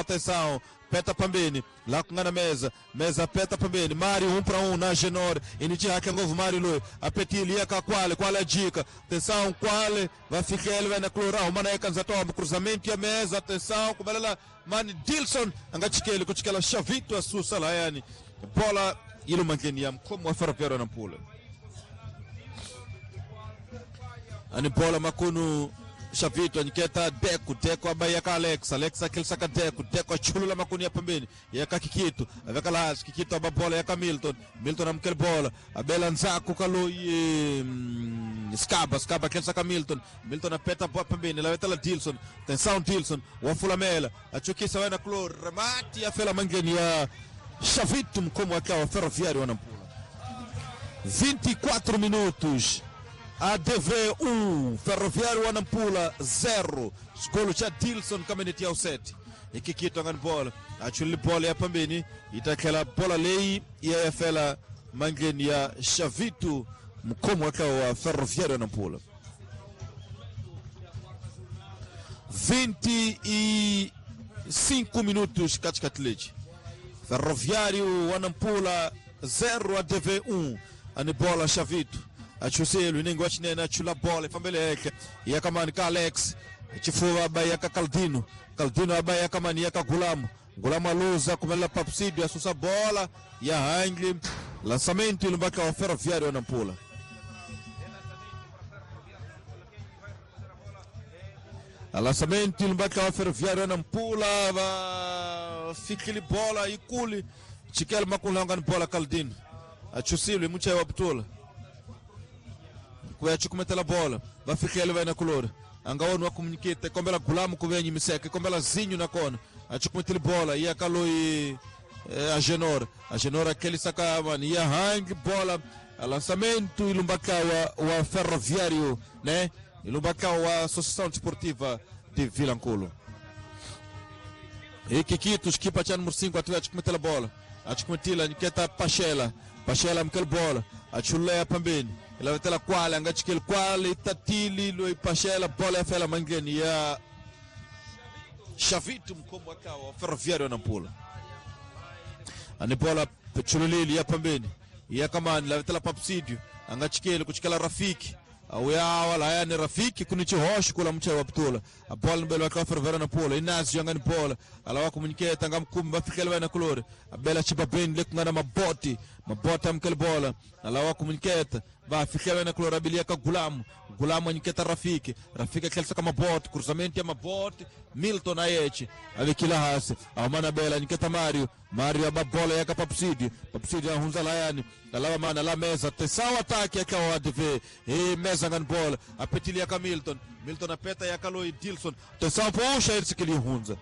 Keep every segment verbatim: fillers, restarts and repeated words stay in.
Atenção, peta pambeni, lá com na mesa, mesa peta pambeni, Mário um para um na Genor, initia que novo Mário Lui, a Petili ia qual, qual é a dica? Atenção, qual vai ficar ele vai na cloral, mano é cansato, cruzamento e a mesa, atenção, como ela, mano Dilson, angachikele, kuchikela Chavito a Susa Laiane, bola ilo mangeniam, como a ferroviária na pula. Ani bola makunu Chavito aniketa Deco, Deco abaia ka Alex, Alex aquele saca Deco, Deco achulula makuni ya pembeni, ya ka Kikito, aveka lá, Kikito aba bola ya ka Milton, Milton amkel bola, abela Nzaku kaloi mm, Scaba, Scaba aquele saca Milton, Milton apeta bola pembeni, lá la Dilson, tensão Dilson, wafula mela, achukisa vai na clor, remate ya fela mangeni ya Chavito como aquela Ferroviário Nampula. vinte e quatro minutos. A D V um, Ferroviário Nampula zero. Golo cha Dilson kameneti ao sete. E Kikito angan bola. Achuli bola ya pambeni. Itakela bola lei e a fela mangeni ya Chavito mkomo wa Ferroviário Nampula. vinte e cinco minutos katikati. Ferroviário Nampula zero, A D V um. Ani bola Chavito. Achuselo ningo achinena achula bola ifambeleke yakamani ka Alex chifuwa abai yaka Caldino Caldino abai yakamani yaka Gulamu Gulamu aluza kumela Papsidio asusa bola ya Hangli lançamento ilumbaka wa Ferroviário Nampula. Lançamento ilumbaka wa Ferroviário Nampula va fikili bola ikuli chikel makulanga ni bola Caldino achusilo mucha waptula kuya chukumetela bola vafikele vai na color angaona wa comunicate kombela Gulamu kuvenyi miseke kombela Zinho na kona achukumetele bola ia kaloi eh, a Genor a Genor aquele saca mano ia hang bola a lançamento ilumbaka wa, wa Ferroviário, né, ilumbaka wa Associação Desportiva de Vilanculo. E Kikito equipa cha número cinco atuia achukumetela bola achukumetila niketa Pachela Pachela mkel bola achulea pambeni ela vai ter qual angachikele qual itatili lo Pachela bola ya fela mangeni ya Chavito mkomo akawa Ferroviário Nampula. Ani bola chululili ya pambeni ya kamani la tela Papsidio angachikele kuchikela Rafiki awya wala yani Rafiki kunichi hosh kula mcha wa ptula a bola mbele wa Ferroviário Nampula Inácio angani bola alawa komuniketa ngamkumba bafikele wana kulore abela chibabeni lekungana maboti maboti amkel bola alawa komuniketa bafikele wana kulore abilia ka Gulamu Gulamu aniketa Rafiki Rafiki akelsa kama bot cruzamento ya maboti Milton ayechi avikila hasi amana bela aniketa Mario Mario ababola yaka Papsidio Papsidio ahunza layani alawa mana la mesa tesao ataque yaka wa A D V e mesa ngani bola apetilia ka Milton Milton apeta yaka Loi Dilson tesao puxa ele se hunza.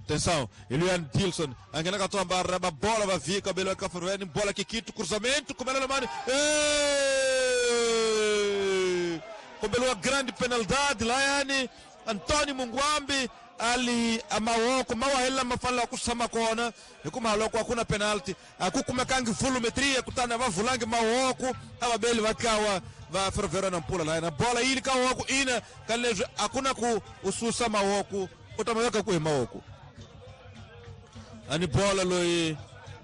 Atenção, Eliane Dilson, angena katoa barra, bola vai vir, cabelo é Ferroviário, bola Kikito, cruzamento, como ela mano. Como uma grande penalidade, Laiane, Antônio Munguambi, ali amawoko mawahela mafala kusama kona, kuma haloko hakuna penalti, akukumekangi volumetria kutana vavulangi mawoko, ababeli vakawa va Ferroviário Nampula Laiane, bola ili kawoko ina kalejo hakuna ku ususa mawoko, utamaweka ku mawoko. Ani bola loi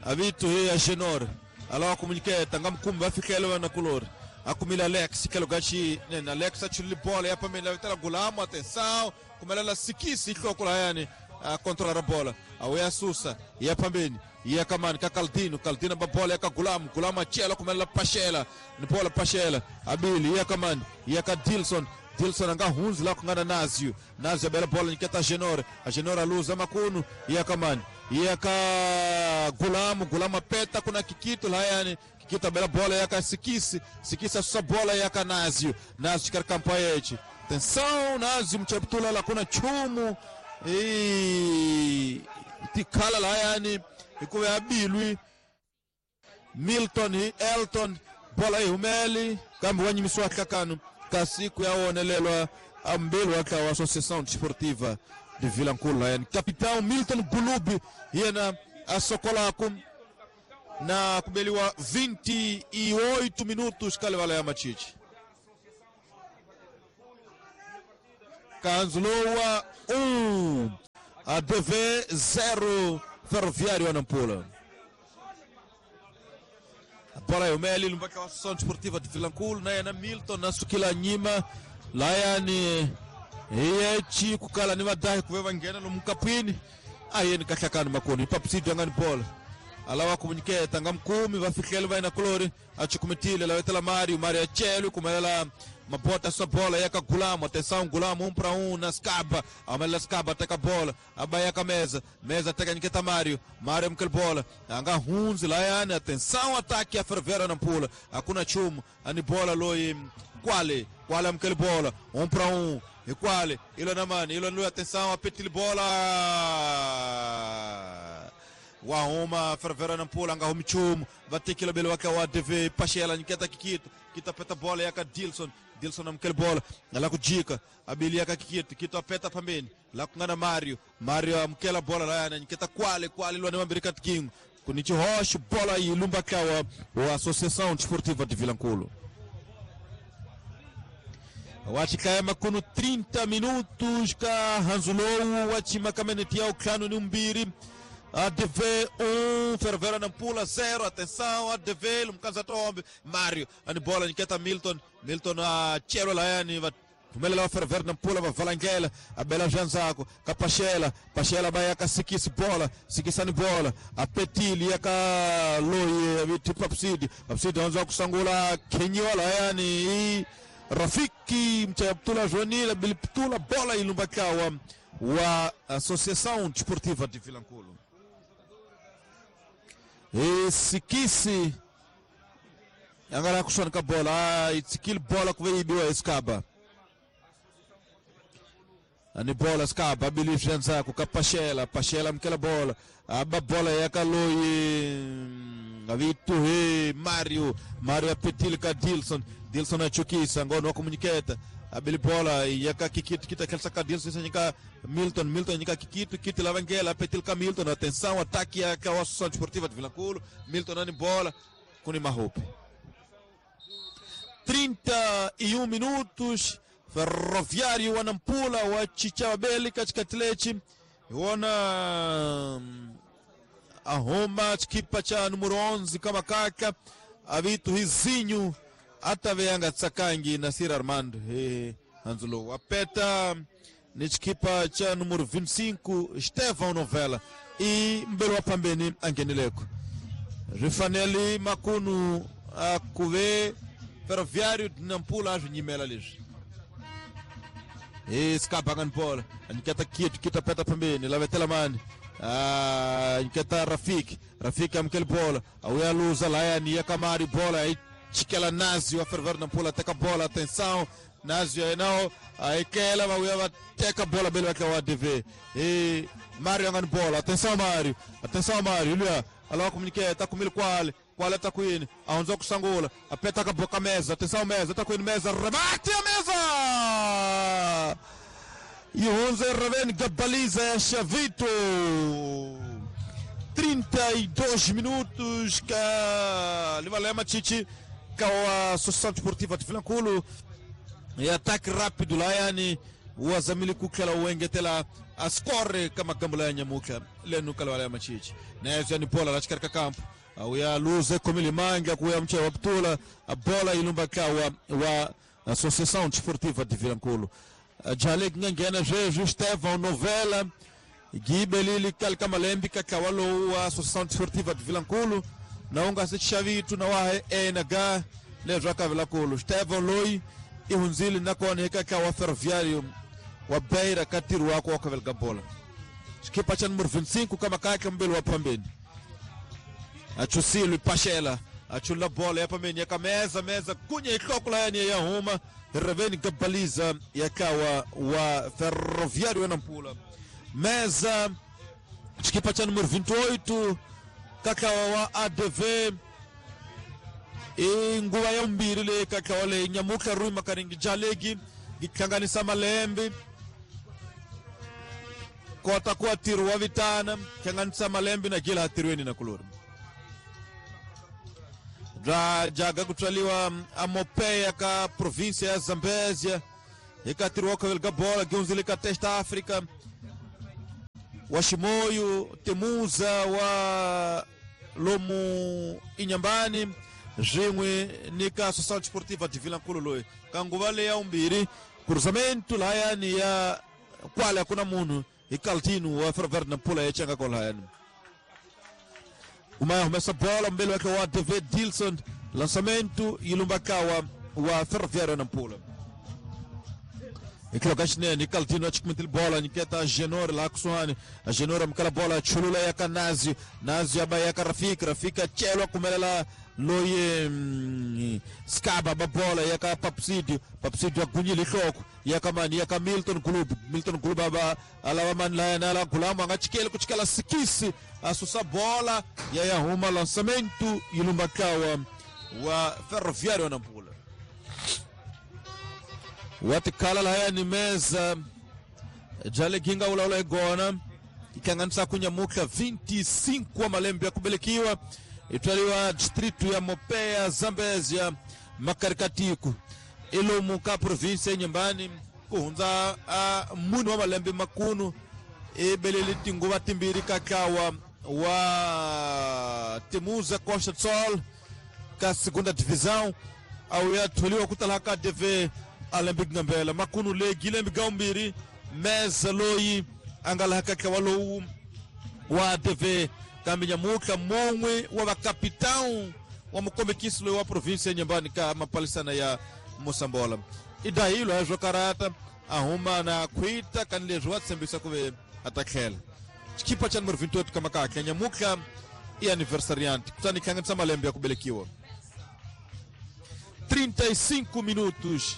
avitu hii a Genor alawa komuniketa ngamkumba afikele na kulor akumila Alex kelo gachi nena Alex achuli bola ya pamela vitala Gulamu atenção kumelela sikisi ikokula yani a controlar a bola awea Susa ya pambeni ya kamani ka Caldino Caldino ba bola ya ka Gulamu Gulamu achela kumelela Pachela ni bola Pachela abili ya kamani ya ka Dilson Dilson anga hunzi la kungana Nazio Nazio bela bola niketa Genor a Genor aluza makunu ya kamani yaka Gulamu Gulamu apeta kuna Kikito lá yani Kikito bela bola yaka Sikisi Sikisi asusa bola yaka Nazio Nazio chikar kampaete atenção Nazio mchaptula la kuna chumu e tikala lá yani ikuwe abilwi Milton Elton bola ihumeli kambi wanyimiswa kakanu kasiku yaonelelwa ambelo aka wa Associação Desportiva de Vilanculo yani capitão Milton Gulubi yena asokolaku na kubeliwa vinte e oito minutos kalevala ya machichi Kanzulowa um A D V zero, Ferroviário Nampula. A bola é o Meli, lumbaka wa Associação Desportiva de Vilankulo, na na Milton, na Sukila Nyima, Layani, Echi, Kukala ni Madahi, Kuweva Ngena, Lumkapini, Aye ni Katlakani Makoni, Papsidi Angani bola. Alawa komuniketa nga mkumi vafihlele va ina kulori achikumitile lawetela Mario Mario achelu kumelela mabota sa bola yaka Gulamu atenção Gulamu um para um na Scaba amelela Scaba teka bola abayaka mesa mesa teka nyiketa Mario Mario mkel bola anga hunzi layani atenção ataque a Fervera Nampula hakuna chumu ani bola loi Kwale Kwale mkel bola um para um e Kwale ilo na mani ilo nlu atenção apetili bola Wahoma Fervera Nampula anga homichumu vatikila belo waka wa D V Pachela niketa kikito kita peta bola yaka Dilson Dilson amkel bola ala kujika abili yaka kikito kito apeta pambeni la kungana Mario Mario amkela bola la yana niketa Kwale Kwale lwa nemambirika tikingo kunichi hosh bola ilumba kawa wa Associação Desportiva de Vilankulo wachikaya kuno trinta minutos ka Hanzulou wachimakamenetia uklano ni umbiri A D V um, Fervera Nampula zero, atenção, A D V, Lumkanza Tombe, Mário, ani bola, Niketa Milton, Milton a Chelo Laiani, Tumelela Fervera Nampula, Valangela, a Bela Janzaco, Capachela, Pachela Baiaca, Sikisi bola, Sikisani bola, a Petili, Yaka Loi, Papsidi, Papsidi, Anzaco Sangula, Kenyola, Laiani, Rafiki, Mchayaptula Joanila, Biliptula, bola e Lumbakawa, wa Associação Desportiva de Vilankulo. Esse agora com a bola, itsikil bola que veio biwa escaba. Ani bola escaba, Billy Janzaco, Capachela, Pachela mkela bola, aba bola ya Kaloi, Avito he Mario, Mario apetilka Dilson, Dilson achukisa, ngono komuniketa. Abili bola yaka kikito kita kelsa ka Dilson nyika Milton Milton nyika kikito kiti lavangela apetilka Milton atenção ataque ya ka Associação Desportiva de Vilankulo Milton ani bola kuni mahupi trinta e um minutos Ferroviário wa Nampula wa Chichabeli katikati wana ahoma chikipa cha número onze kama kaka avitu hizinho ataveanga tsakangi Nasir Armando eh Anzulo apeta ni chikipa cha número vinte e cinco Estevão Novela e mbelo pambeni angenileko Rifanelli Makunu akuve Ferroviário de Nampula ajunyimela lixo e skapa bola aniketa kit kita peta pambeni lavetela mani ah niketa Rafiki Rafiki amkel bola auya luza layani yakamari bola Chikela Nazio a Ferver Nampula teka bola, atenção, Nazio aí não, aí que ela vai teka bola belo que é o A D V. E Mário angando bola, atenção Mário, atenção Mário, olha, alô comunique, tá comigo qual, qual tá com ele, aonde com Sangula, aperta a boca mesa, atenção mesa, tá com ele mesa, rebate a mesa! E onze Raven Gabaliza Chavito. trinta e dois minutos que Livalema Chichi com a Associação Desportiva de Vilankulo e ataque rápido lá yani o Azamili kukela uengetela ascorre kama gambula ya nyamuka lenu kalwala machichi na yani bola la chikarika campo auya luze komilimanga kuya mche wa ptula a bola ilumba kawa wa Associação Desportiva de Vilankulo Jalek ngena Jeju Estevão Novela Gibelili kalkamalembi kakawalo wa Associação Desportiva de Vilankulo na unga se chavitu na wahe enaga lezwa ka Vilankulo Estevão Loi ihunzili na kone kaka wa Ferroviário wa Beira katiru wako wa kavelga bola chikipa cha número vinte e cinco kama kaka mbele wa pambeni achusilo Pachela achula bola ya pambeni ya meza meza kunye ikokula yani ya huma Reveni Gabaliza yakawa wa Ferroviário Nampula meza chikipa cha número vinte e oito kakawa wa A D V inguva ya umbiri le kakawa le nyamuka rui makaringi jalegi gikhanganisa malembe kota kwa tiru wa vitana khanganisa malembe na gila hatirweni na kulori dra jaga kutswaliwa amopeya ka província ya Zambésia ikatiriwa kavelga bola giunzile ka testa África wa Chimoio Temuza wa lomu Inhambane swin'we ni ka Social Desportiva de Vilankulo loyi ka nguva leyi ya vumbirhi cruzamento lahayani ya kwale a ku na munhu hi Caldino wa Ferroviário Nampula ya changa kwalahayani kuma ya humesa bola mbele wake wa David Dilson lançamento yilumbakawa wa Ferroviário Nampula ikilo xinene Caldino achikumitile bola nyiketa Genor laha kusuhani Genor amukela bola chulula ya ka Nazi Nazi aba ya ka Rafiki Rafiki achelwa kumelela loyi mm, Skaba ba bola ya ka Papsidio Papsidio agunyile nhloko ya ka mani ya ka Milton Glub Milton Glub aba alava mani laya na la Gulamu anga chikeli ku chikela sikisi asusa bola ya ya huma lançamento yilumbakawa wa Ferroviário Nampula watikhala lahayani meza jale ginga ulaula igona ikanganisa kunyamuka vinte e cinco wa malembe ya kubelekiwa itwaliwa distrito ya Mopea Zambezia makarikatiku ilomu ka província ya Inhambane kuhundza a munhu wa malembe makunu ibelele tinguva timbirhi ka ntlawa wa Temuza Costa do Sol ka segunda divisão au ya tholiwa ku tala ka D V Alembic Ngambela makunu legi lembe gaumbiri meza loyi a nga laha ka ntlawa lowu wa D V kambe nyamutlha mun'we wa vakapitão wa mukombekisi loyi wa província ya Inhambane ka mapalisana ya Mosambola i dahilo ya swo karata a huma na khwita kani leswi wa tshembisa ku ve a ta tlhela xikipa xa numero vinte e oito ka makahle nyamutlha i aniversariante kutani hlanganisa malembe ya ku velekiwa trinta e cinco minutos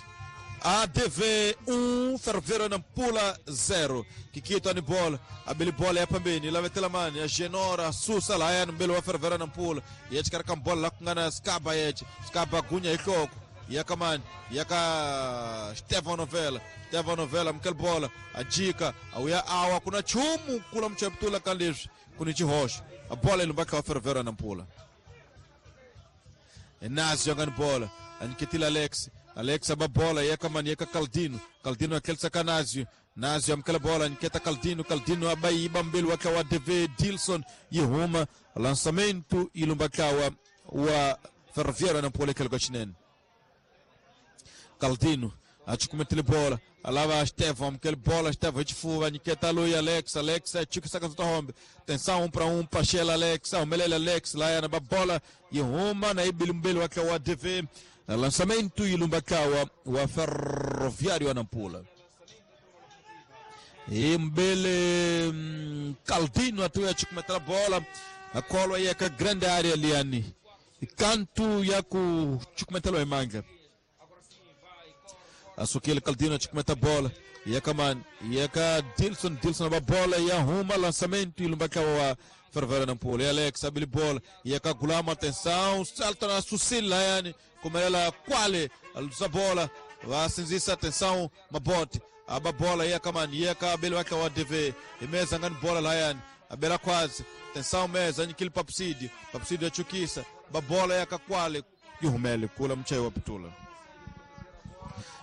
A D V um, Ferroviário Nampula zero. Kikito ani bola, abeli bola ya pambeni, lavetela mani, a Genora, Susa la ya mbele wa Ferroviário Nampula. Yechi karaka bola la kungana Skaba yechi, Skaba gunya ihloko. Yaka mani, yaka Stefan Novella, Stefan Novella mkel bola, ajika, auya awa kuna chumu kula mchaptula kalesho, kuni chihosh. A bola ilumbaka wa Ferroviário Nampula. Nazi jogando bola, aniketila Alex. Alex aba bola yeka mani yeka Caldino Caldino akelsa ka Nazio Nazio amkela bola nketa Caldino Caldino abaiba mbele wake wa D V Dilson yihuma lançamento ilumbakawa wa Ferroviário Nampula kelgo chinene Caldino achikumetele bola alava Stefan amkela bola Stefan chifuva nketa loyi Alex Alex achika saka zotombe tensão um para um Pachela Alex aumelele Alex lá na bola yihuma na ibili mbele wake wa D V lançamento ilumbakawa wa Ferroviário Nampula e mbele Caldino atuya chikumetela bola akolwa yeka grande área liani canto yaku chikumetela emanga asukile Caldino chikumeta bola yeka man yeka Dilson Dilson ba bola ya huma lançamento ilumbakawa wa Ferroviário Nampula e Alex abili bola yeka Gulama atenção salta na Susila yani kumelela kwale alusa bola vasinzisa atenção mabote aba bola yeka man yeka abeli wake wa D V imeza ngani bola la yani abela kwazi atenção meza nyikili Papsidi Papsidi achukisa babola yeka kwale yuhumele kula mchai wa pitula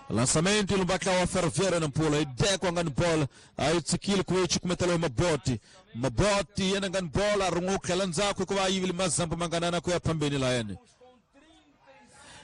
lançamento ilumbaka wa Ferroviário Nampula idekwa ngani bola ayitsikile kuichi kumetela maboti maboti yena ngani bola rungukhela ndzhaku hikuva yivile mazambu manganana ku ya phambeni la yena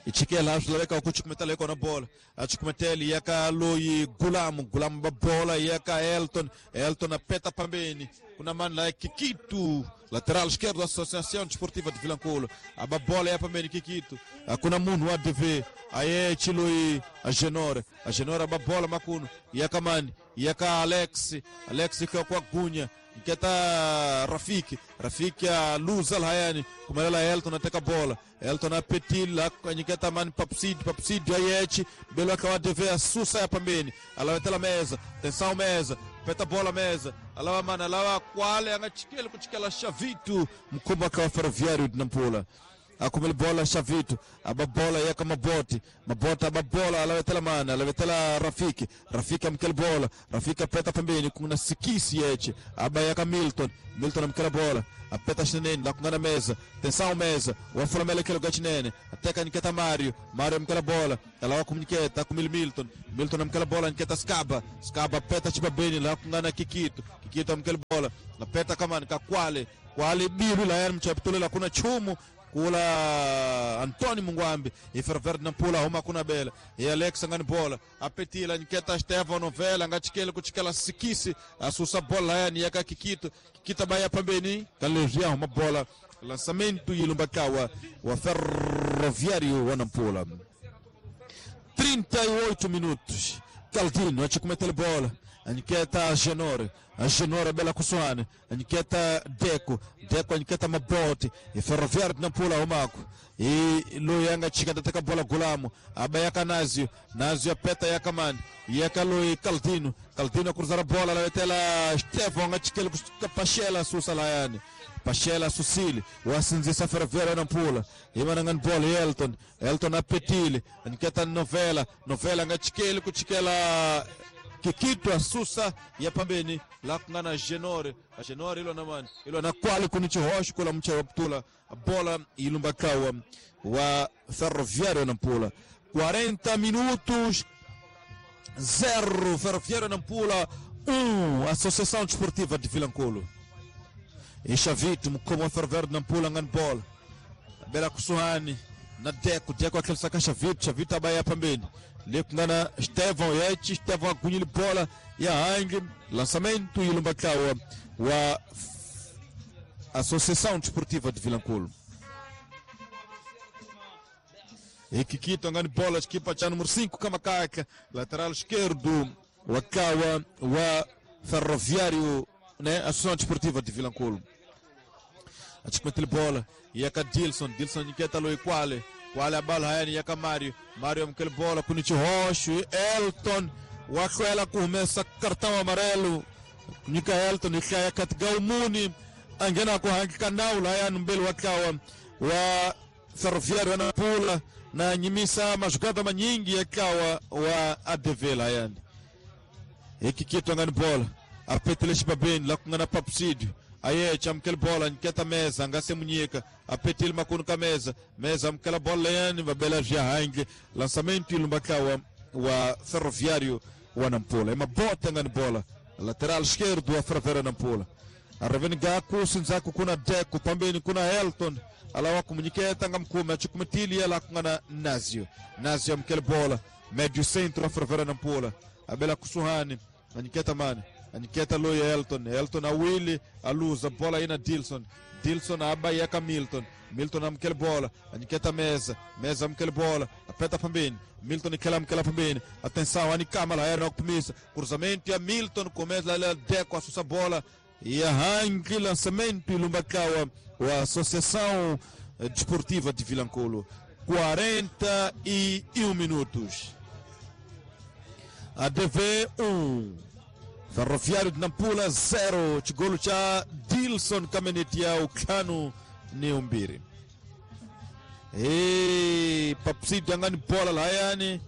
ichikela swi laveka ku chikumetela ikona bola achikumeteli yaka loyi Gulamu Gulamu ba bola yaka Elton Elton apeta pambeni kuna mani la Kikito lateral esquerdo da Associação Desportiva de Vilankulo aba bola ya pambeni Kikito kuna munhu wa D V aye chiloyi a Genora a Genora ba bola makuno yaka mani yaka Alex Alex kwa kwa gunya nketa Rafiki Rafiki a luza lahayani kumelela Elton ateka bola Elton apetila nyiketa mani Papsidi Papsidi ayechi belo akawa D V asusa ya pambeni alawetela meza tensão meza peta bola meza alawa mana alawa kwale angachikele kuchikela Xavitu mkumba akawa Ferroviário de Nampula Akumil bola Shavito. Aba bola yaka Maboti. Maboti aba bola alawetela mana, alawetela Rafiki. Rafiki amkel bola. Rafiki apeta pembeni kuna Sikisi yeche. Aba yaka Milton. Milton amkela bola. Apeta chinene la kungana meza. Tensão meza. Wafula melekelo gachinene. Ateka niketa Mario. Mario amkela bola. Alawa kumniketa kumil Milton. Milton amkela bola niketa Skaba. Skaba apeta chibabeni la kungana Kikito. Kikito amkela bola. Apeta kama nikakwale. Kwale biru la yar mchapitule la kuna chumu kula Antônio Munguambi e Ferroviário de Nampula huma kuna bela e Alex ngani bola apetila nketa Estevão novela ngatikele kutikela sikisi asusa bola yani yaka Kikito. Kikito baya pambeni kalejia huma bola lançamento ilumbakawa wa Ferroviário wa Nampula. trinta e oito minutos. Caldino achikumete bola Aniketa Genore, a Genore bela kusuane, Aniketa Deco, Deco Aniketa Maboti, e Ferroviário de Nampula umako. E Luyanga chika tateka bola Gulamo, abayaka Nazio, Nazio apeta yakamani, yaka Lui Caldino, Caldino cruzar a bola, la metela Estevão, achikele Pachela susa layane. Pachela Sucile, o Assinzisa Ferroviário Nampula, Imanangan bola Elton, Elton apetile, Aniketa Novela, Novela ngachikele kuchikela Kikito asusa ya pambeni la kungana Genore, a Genore ilo na mani ilo na kwale kunichi rocho kula mcha waptula bola ilumbakawa wa Ferroviário Nampula. quarenta minutos, zero Ferroviário Nampula, um Associação Desportiva de Vilanculo. E Chavito como Ferroviário Nampula ngan bola bela kusuhani na Deco, Deco aquele saca Chavito, Chavito abaya pambeni lekungana Estevão Yeche, Estevão agunhile bola e a Ang, lançamento e Lumbakawa wa Associação Desportiva de Vilanculo. E Kikito angani bola, equipa cha número cinco Kamakaka, lateral esquerdo Wakawa wa Ferroviário, né, Associação Desportiva de Vilanculo. Achikumete bola e a Dilson, Dilson Niketa Loiquale. Qual a bola hayani yaka Mario, Mario amkel bola kunichi rocho Elton wakwela começa cartão amarelo nika Elton ikaya katga umuni angena ko hangi kanau la yani mbele wakawa wa Ferroviário na Pula na nyimisa majugada manyingi yakawa wa A D V la yani Ekikito ngani bola apetele shibabeni la kungana Papsidio aye chamkel bola nketa meza ngase munyika apetil makunu ka meza meza mkela bola yani babela jahange lançamento ilumbakawa wa Ferroviário wa Nampula. Ema bota ngani bola lateral esquerdo wa Ferroviário Nampula. Arreveni gaku sinzaku kuna Deco pambeni kuna Elton alawa kumunyiketa ngamkume achikumetili ala kungana Nazio. Nazio mkela bola médio centro wa Ferroviário Nampula abela kusuhani aniketa mani Aniketa Loya Elton, Elton a Willy, a luz, a bola aí na Dilson, Dilson aba yaka Milton, Milton amkel bola, Aniketa mesa, mesa amkel bola, apeta pambeni, Milton ikela amkela pambeni, atenção, anikama lá era optimista, cruzamento e a Milton começa lá Deco a sussa bola e arranque lançamento e Lumbakawa, a Associação Desportiva de Vilanculo. quarenta e um minutos. A D V um. Ferroviário de Nampula zero, chigolo cha Dilson Kamenetia ukano Neumbiri. E Papsidi angani bola lá yani.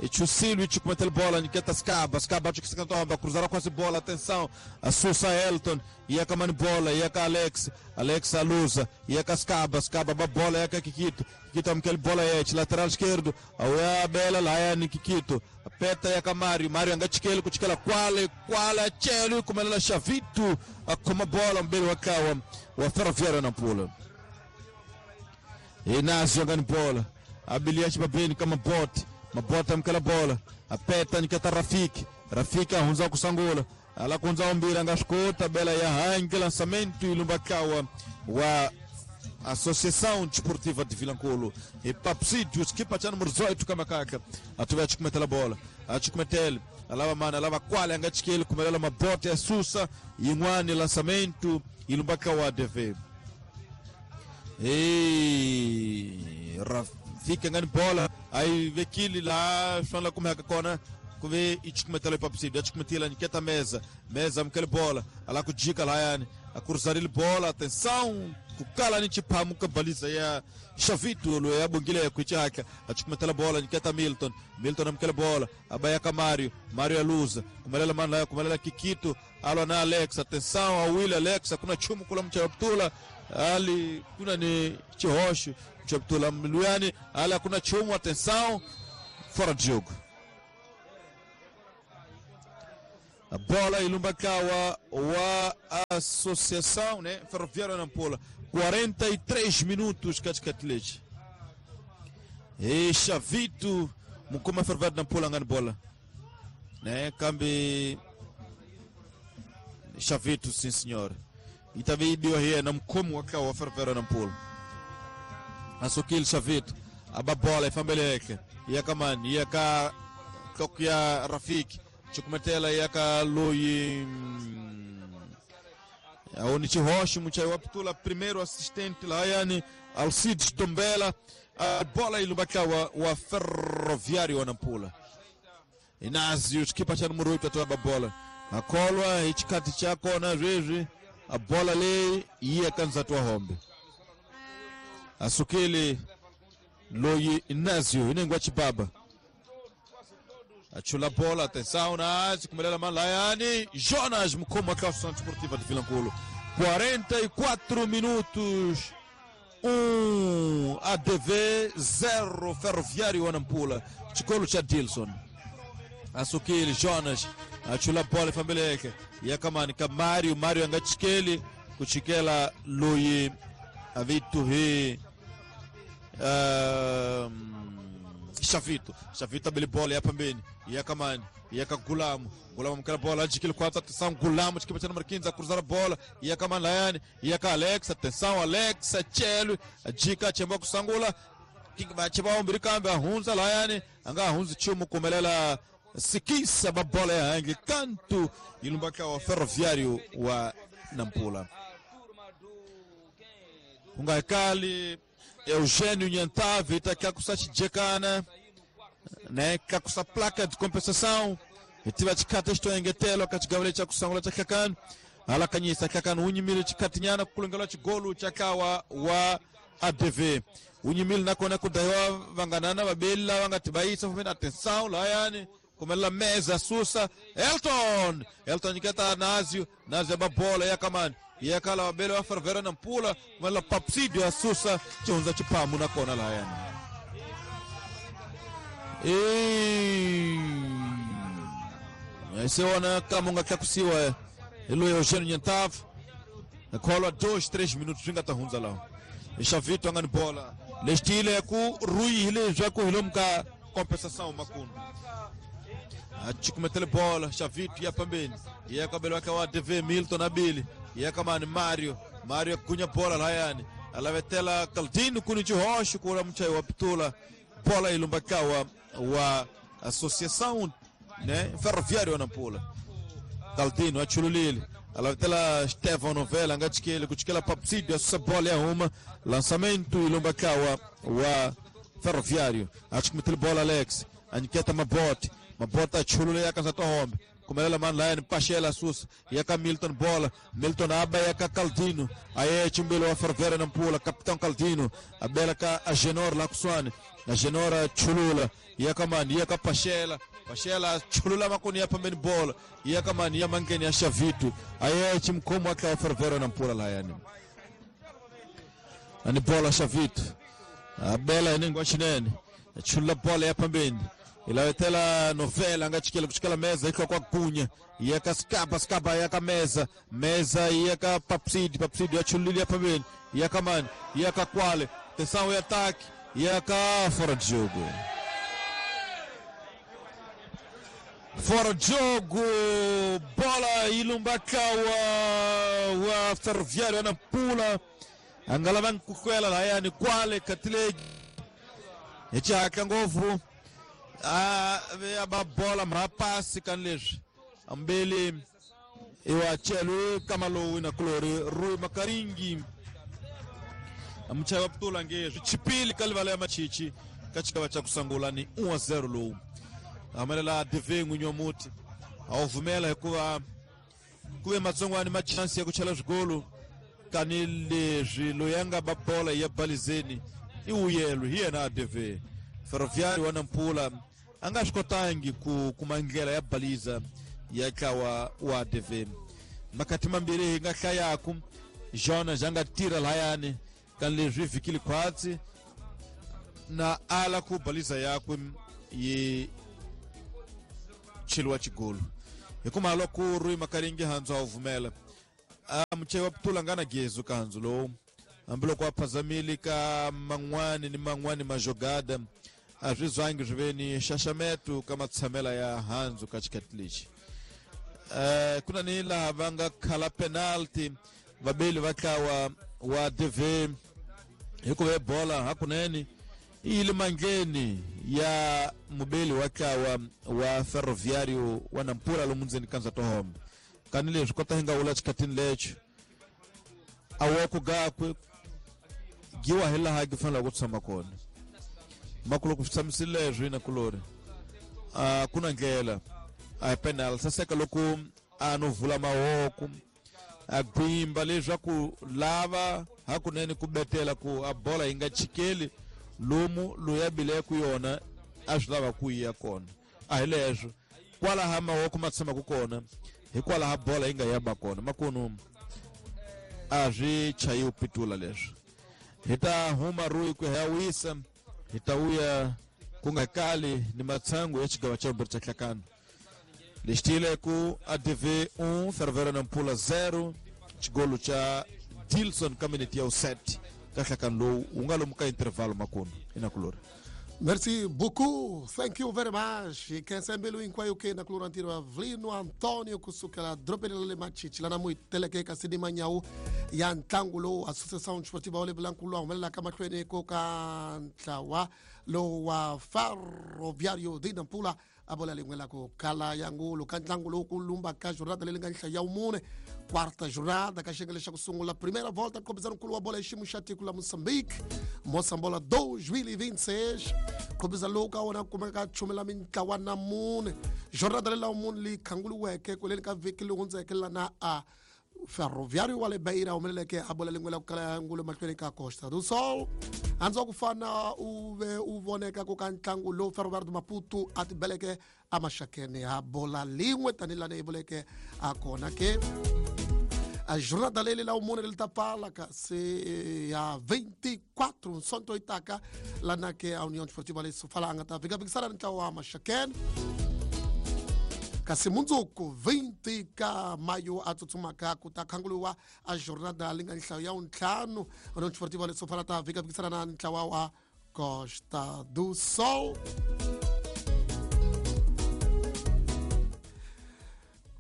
E Chusilio chikumetel bola niketa Skaba, Skaba chikisantomba cruzar quase bola, atenção, a Susa Elton, ia kamani bola, ia ka Alex, Alex alusa, ia ka Skaba, Skaba ba bola ia ka Kikito, Kikito amkel bola yete, lateral esquerdo, a Bela lá yani Kikito. Peta ya Mario, Mario angachikele kuchikela kwale kwale chelu kumelela Chavito akoma bola mbele wakawa wa Ferroviário Nampula. Inácio angani bola abilia chibabeni kama bot mabota mkela bola apeta nikata Rafiki, Rafiki ahunza kusangula ala kunza umbira ngashkota bela ya hangi lançamento ilumbakawa wa Associação Desportiva de Vilanculo. E Papsídio, equipa cha número dezoito Kamakaka. Atuve achikumetela bola. Achikumetele. Alava mana, alava kwale angachikele kumelela mabote ya Susa ingwani lançamento ilumbaka wa A D V. E Rafika ngani bola aí vekili lá fala como é que kona kuve ichikumetela Papsídio, achikumetela niketa mesa, mesa mkele bola, ala kujika la yani, a cruzar ele bola, atenção, Kukala ni chiphamu kabaliza ya Xavito lo ya bongile kuchaka achukumetela bola niketa Milton Milton amkela bola abayaka Mario Mario aluza kumelela mana kumelela Kikito alwa na Alex. Atenção ao Will Alex, kuna chumu kula mchaptula ali kuna ni Chihosho mchaptula mluyani ali kuna chumu. Atenção, fora de jogo. A bola ilumbakawa wa Associação, né? Ferroviária Nampula. quarenta e três minutos katikati. E Xavito mukoma Ferroviária Nampula ngani bola. Né? Kambi Xavito, sim senhor. E também deu aí na mkomo wakawa Ferroviária Nampula. Asukil Xavito aba bola ifambeleke. Yakamani yaka Tokia Rafiki. Chukumetela yaka loyi aoni Chihoshi muchai waptula primeiro assistente lá yani Alcides Tombela. A bola ilubakawa wa Ferroviário wa Nampula. Inazio chikipa cha número oito atoa bola akolwa ichikati chako na riri a bola le iye kanza toa hombe asukili loyi Inazio inengwa chibaba achula bola. Atenção, Nazi, kumelela malayani Jonas mukoma kwa Associação Desportiva de Vilankulo. quarenta e quatro minutos, um A D V zero Ferroviário Nampula. Chikolo cha Dilson asukili Jonas achula bola fambeleke yakamani ka Mario Mario angachikeli kuchikela loyi avitu hi um, Xavito, Xavito abele bola ya pambeni, yakamani, yaka Gulamu, Gulamu mkala bola, ajikile quatro, atenção, Gulamu, chikipa cha número quinze, a cruzar a bola, yakamani Layane, yaka Alex, atenção, Alex, Chelo, ajika, chemba kusangula, chemba ombiri kambe, ahunza Layane, anga ahunza chumu kumelela sikisa babola ya hangi, kantu, ilumbaka wa Ferroviário wa Nampula. Ungaikali Eugênio Nhantave itakiakusachijekana né kakusa placa de compensação itiva chikata chitoengetelo kachigavale chakusangula chakakano alakanyisa kakano unyimile chikatinyana kukulongela chigolu chakawa wa A D V unyimile nakona kudaiwa vanganana vabeli vangatibaisa fumene atenção layani kumelela mesa susa Elton Elton nyiketa Nazio Nazio babola yakamani yakala wabele wa Ferroviário Nampula kumelela Papsidio asusa chihunza chipamu nakona layani e seona kamonga kakusiwa elo Eugênio Nhantave nakholwa dois três minutos vingatahunza lao Xavito angani bola lestile ku ruihile zwaku hilomka compensação makundo achikumetele bola Xavito ya pambeni yakabelo wake wa D V Milton Abili yakamani Mario Mario kunya bola layani alavetela Caldino kuni Chihoshi kula mchai wa pitula bola ilumbakawa wa Associação, né, Ferroviário Nampula. Caldino achululile alavetela Stefano Novela angachikele kuchikela Papsidio essa bola é uma lançamento ilumbakawa wa Ferroviário achikumetele bola Alex aniketa Mabote Mabote achulule yakanza tohombe kumelela man layani Pachela susa yaka Milton bola Milton aba yaka Caldino aye chimbelo wa Ferroviário Nampula capitão Caldino abela ka Agenor la kuswane Agenora chulula yaka man yaka Pachela Pachela chulula makoni ya pambeni bola yaka man ya mangeni ya Xavito aye chimkomo aka Ferroviário Nampula layani ani bola Xavito abela inengwa chinene chulula bola ya pambeni ilawetela novela angachikela kuchikela meza iko kwa kunya yaka skaba skaba yaka meza meza yaka Papsidi Papsidi achulilia pambeni yaka man yaka Kwale tensão e ataque yaka fora de jogo fora de jogo bola ilumbakawa wa Ferroviário Nampula angalavan kukwela layani Kwale katilegi echaka ngovu a ababola mrapasi kanleswi ambele iwachelo kamalowi na kulori Rui Makaringi amuchai wa putula ngezwi chipili kalivala ya machichi kachikava cha kusangula ni um a zero lowu amelela D V n'winyi wa muti a wu vumela hikuva ku ve matsongwani machansi ya ku chela swigolo Kani leswi loyi a nga ba bola ya balizeni i wuyelo hi yena A D V. Ferroviário wa Nampula a nga swi kotangi ku kuma ndlela ya baliza ya ntlawa wa A D V. Makati mambirhi hi nga hlayaku Jonas a nga tirha lahayani kani leswi vhikile khwatsi na ala ku baliza yakwe yi cheliwa xigolo hikuva loko ri makaringi handzu a wu vumela a muchei wa putula nga na gezu ka handzu lowu hambiloko a phazamile ka man'wani ni man'wani majogada a swi zwangi swi ve ni xaxameto ka matshamela ya handzu ka xikati lexi. um ku na ni laha va nga khala penalty vabeli va ntlawa wa D V hikuva bola hakunene yi yile mandleni ya mubeli wa ntlawa wa Ferroviário wa Nampula lomu ndzeni ka Ndzatohombe. Kani leswi kota hi nga wula xikhatini lexo a woko gakwe giwa hi laha gi fanelaka ku tshama kona makuloko swi tshamisile leswi na kulori a ku na ndlela a hi penal saseka loko a no vula mavoko a gwimba leswaku lava hakunene ku betela ku a bola yi nga chikeli lomu loyi a bileke yona a swi lava ku yi ya kona a hi leswo kwalaha mavoko ma tshamaka kona hikwalaha bola yi nga ya ba kona makunu a swi chayiwi pitula leswi. Hi ta huma ruyi ku ya wisa hi ta vuya ku nga kali ni matshangu ya xigava xa vumbirhi xa nhlakano lexi tiyile ku A D V un Ferroviário Nampula zero xigolo xa Dilson ka minute ya set ka nhlakano lowu wu nga lomu ka intervalo makunu inakulori. Merci beaucoup. Thank you very much. Khensa mbilu hinkwayo ke na kulora ntirho wa Vlino Antonio kusukela dorobeni ra le Machichi lana mu teleke ka Sidi Manyawu ya ntlangu lowu Associação Desportiva wa le Vilankulu a humelelaka mahlweni ko ka ntlawa lowu wa Ferroviário de Nampula a bola lin'we la ku kala ya ngulu ka ntlangu lowu ku lumba ka jornada leyi nga nhlaya ya vumune quarta jornada ka xiyenge lexa ku sungula primeira volta nkhobizano nkulu wa bola hi xiyimo xa tiko la Moçambique Moçambola dois mil e vinte e seis nkhobizano lowu ka wona ku kumeka chumela mintlawa na mune jornada leyi la vumune leyi khanguliweke kweleni ka vhiki leyi hundzeke lana a Ferroviário wa le Beira humeleleke a bola lin'we la ku kala ya ngulu mahlweni ka Costa do Sol handzu wa ku fana u ve u voneka ku ka ntlangu lowu Ferroviário do Maputo a tibeleke amaxakeni ha bola lin'we tanihi lani yi vuleke a kona ke a jornada leyi la vumune leri ta pfala kasi ya vinte e quatro nsonto yi taka lana ke a União Desportiva le Sofala a nga ta vhikavikisana ni ntlawa wa Maxakeni kasi mundzuku vinte ka mayo a tsutsumaka ku ta khanguliwa a jornada leyi nga nhlayo ya vuntlhanu União Desportiva le Sofala ta vhikavikisana na ntlawa wa Costa do Sol.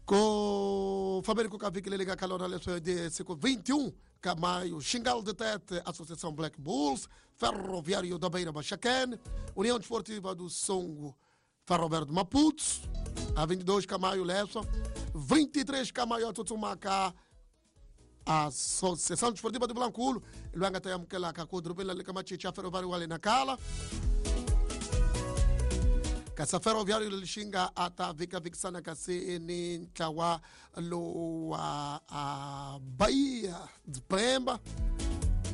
Ko fambeni ku ka vhiki leri nga ka lona leswi de siku vinte e um ka maio Xingal de Tete Associação Black Bulls Ferroviário da Beira Maxakene União Desportiva do Songo Ferroviário de Maputo a vinte e dois ka maio leswa vinte e três ka maio a tsutsumaka Associação Desportiva do Vilankulo loyi a nga ta amukelaka ku dorobeni la le ka Machichi ya Ferroviário wa le Nacala kasi Ferroviário lexi nga a ta vhikavikisana kasi ni ntlawa lowu wa a Bahia de Pemba.